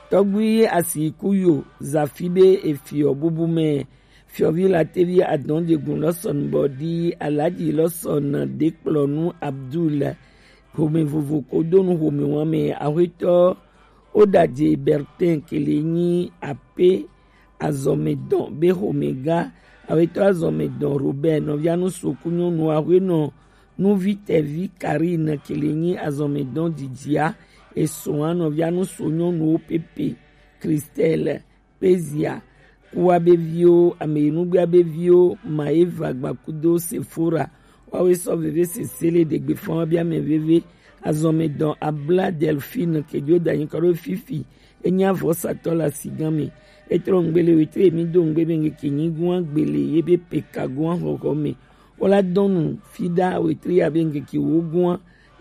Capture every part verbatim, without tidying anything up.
Tɔgbi Asikuyo Zafi be efiɔ bubu mɛ. Fiɔvi Latevi Adɔnjegun lɔsɔn bɔ di Alaji lɔsɔn dekplɔnu Abdul. Home vovo ko donu home wan mɛ. Ahwetɔ Odaje Bertin kele nyi ape azɔmedɔn be home ga. Ahwetɔ azɔmedɔn Robert nɔvianu soku nyɔnu ahwenɔ nuvi tɛvi Karine kele nyi azɔmedɔn jijia. Esoa nɔvianu so nyɔnuwo pepe Christelle Pezia, kuwa be viwo, ameyinugbea be viwo, Maeva Gbakudo Sephora, wawe sɔ veve sese le ɖegbefan wa be ame veve. Azɔmedɔn Abla Delphine kejo danyi kɔ ɖo fifi. Enyi avɔsatɔ le asigan me. Etrɔ ŋgbe le wetre emi do ŋgbe be ŋgeke nyigun agbele ye be pekagun ahɔhɔ me. Wola dɔnu fida wetre ya be ŋgeke wogun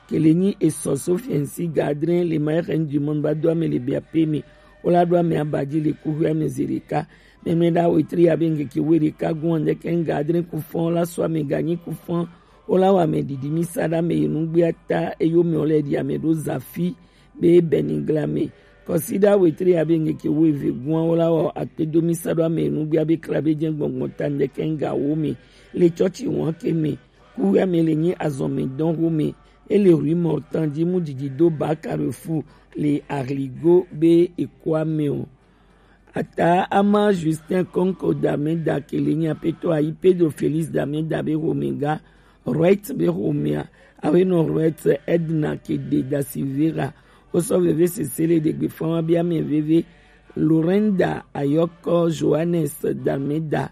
kele nyi esɔ Sofiɛnsi Gadrin le Maire du Monde ba do ame le biape me. Wola ɖo ame abaji le kuxi ame ze ɖeka. Mɛmlɛ ɖa wetre ya be ŋgeke we ɖeka gun andɛkɛ ŋga adre kufɔn la sɔ ame ganyi kufɔn. Wola wɔ ame ɖiɖi mi sa ɖa ame yi nugbea ta eyo me wole ɖi ame ɖo zafi be bɛnigla me. Kɔsi ɖa wetre ya be ŋgeke we ve gun wola wɔ akpedo mi sa ɖo ame yi nugbea be kla be jɛ gbɔngbɔn ta andɛkɛ ŋga wo me le tsɔtsi wɔn ke me. Kuxi ame le nyi azɔmedɔn xome. Ele rue Mortan ji mu didi do ba Carrefour le Ahligo be ekua me o. Ata ama Justin Konko Dameda kele nyi apetɔ ayi Pedro Felix Dameda be xome ga Wright be xomea. Awenɔ Wright Edna Kede da Silveira. Wosɔ veve sese le ɖegbe fɔn wa be ame veve. Lorenda Ayɔkɔ Johannes Dameda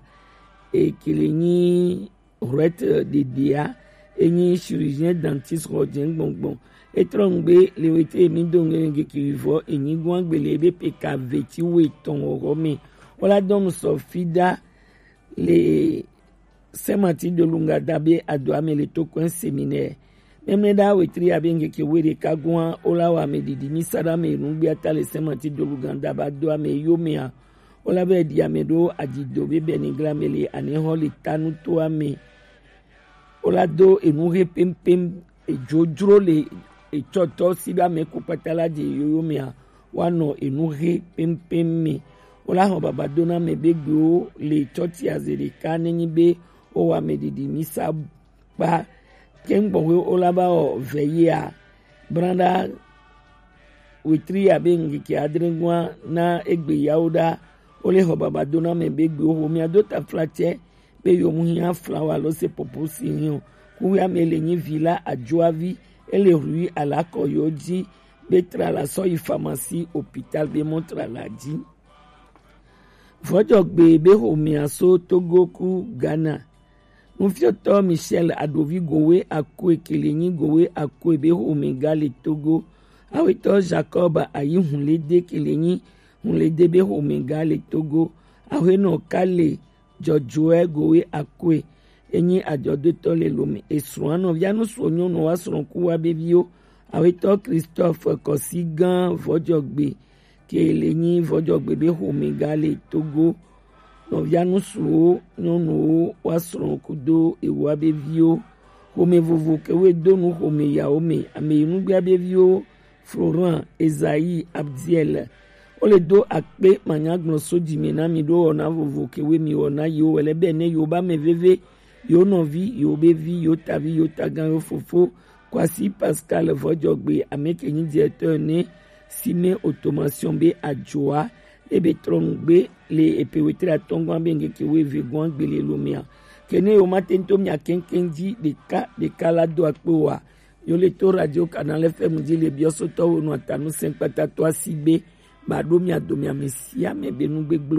ekele nyi Wright ɖeɖea, enyi chirurgien dentiste xɔ jɛ gbɔngbɔn. Etrɔ ŋgbe le wete emi do ŋgbe ŋgeke vɔ enyi gɔn agbele ebe pe ka veti wo etɔn wɔwɔ me. Wola dɔnu sɔ fida le Saint Martin de Lungada be adoa me le tokɔn séminaire. Mɛmlɛ ɖa wetri abe ŋgeke we ɖeka gɔn wola wɔ ame ɖiɖi mi sa ɖa me nugbea ta le Saint Martin de Lungada ba do ame yo mea. Wola be ɖi ame ɖo adzido be bɛnigla me le anexɔ le tanu to ame. Wola do enu he pempem edzrodzro le etsɔtɔ si be ame ku kpata la dze yoyo mea. Woanɔ enu he pempem me. Wola xɔ baba do na ame be gbewo le tsɔtsi aze ɖeka nenyi be wowɔ ame ɖiɖi mi sa kpa. Kɛŋgbɔxwe wola ba wɔ vɛ yea. Branda wetri abe ŋkeke adre gɔa na egbe yawo ɖa. Wole xɔ baba do na ame be gbewo xo mia do taflatse be yo mu hia flawa lo se popo si hio. Kuya me le nyi vi la adjoavi ele rui alakɔ yo dzi be tra la sɔ yi pharmacie hôpital be mɔ tra la dzi. Vɔdzɔgbe be xomea so Togo ku Ghana. Nufiɔtɔ Michel Adovi Gowe Akue kele nyi Gowe Akue be xome ga le Togo. Awetɔ Jacob Ayi Hunlede kele nyi Hunlede be xome ga le Togo. Awenɔ Kale Dzɔdzɔɛ Gowe Akue enyi adzɔdotɔ le Lome. Esrɔ̃a nɔvia nusuɔ nyɔnu wa srɔ̃ ku wa be viwo. Awetɔ Christophe Kɔsi gã Vɔdzɔgbe ke le nyi Vɔdzɔgbe be xome ga le Togo. Nɔvia nusuwo nyɔnuwo wa srɔ̃ kudo ewa be viwo. Xome vovo ke we do nu xome yawo me. Ame yi nugbea be viwo Florent, Esaïe, Abdiel. Wole do akpe manyagblɔ so dzi me na mi ɖo wɔna vovo ke we mi wɔna yiwo wele be ne yiwo ba me veve, yiwo nɔvi, yiwo be vi, yiwo tavi, yiwo tagan, yiwo fofo. Kwasi Pascal Vɔdzɔgbe, ame ke nyi directeur ne Sime Automation be adjoa, ebe trɔ ŋgbe le epe wetre atɔngɔn be ŋgeke we ve gɔn gbele lo mea. Ke ne yiwo ma te ŋto mia keŋkeŋ dzi ɖeka ɖeka la do akpe wa. Yo le to Radio Canal F M dzi le biɔsotɔwo nu atanu sɛnkpata to asi be ba ɖo mia do mia me sia me be nu gbegblẽ